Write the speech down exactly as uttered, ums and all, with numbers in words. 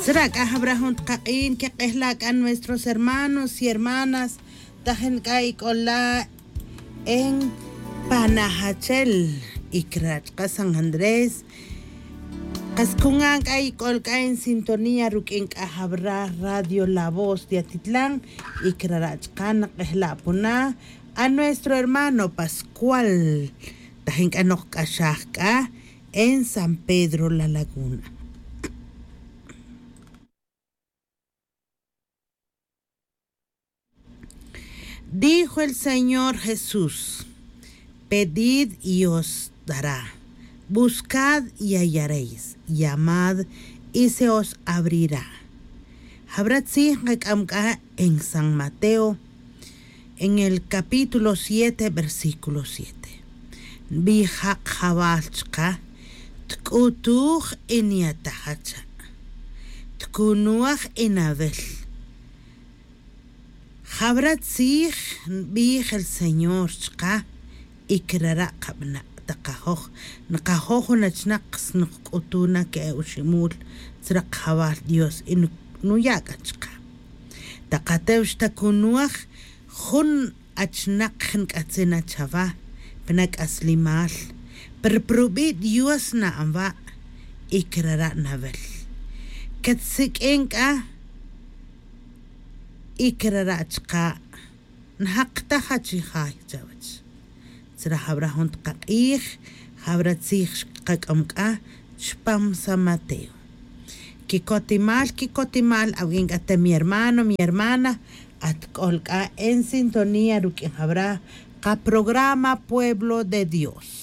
Tzra' c'a jabra jun takak'in quek'ejla' c'a nuestros hermanos y hermanas tajin c'a ic'ola' en panajachel y crara' chka' san andrés. Kas cungan c'a ic'ol c'a en sintonía ruq'uin c'a jabra radio la voz de atitlan y crara' chka' nak'ejla' puna a nuestro hermano pascual tajin c'a nokc'axaj c'a en san pedro la laguna. Dijo el señor jesús, pedid y os dará, buscad y hallaréis, llamad y se os abrirá. Jabra tzij nkac'am c'a en san mateo en el capítulo siete versículo siete. Nbij ja' kajawal chka, tk'utuj y nyataj acha', tkunwaj y nawel. Jawra tzij nbij el señor chka, y crara' kabana'. Takajoj, nakajoj jun achinak snukc'utu na que e oximul tzra kajawal dios y nuya' c'a chka. Takatew xtakunwaj jun achinak nk'atzin na chawa, pna c'aslimal, pero prubi' dios na'an wa', y crara' nawel. Catsik'in c'a y crara' chka', njak taj achijay chawech. Tzra jawra jun takak'ij jawra tzij xkakac'am c'a chpam san mateo. Quicotimal quicotimal awin c'a te mi hermano mi hermana, atk'ol c'a en sintonía ruq'uin jawra kaprograma pueblo de dios.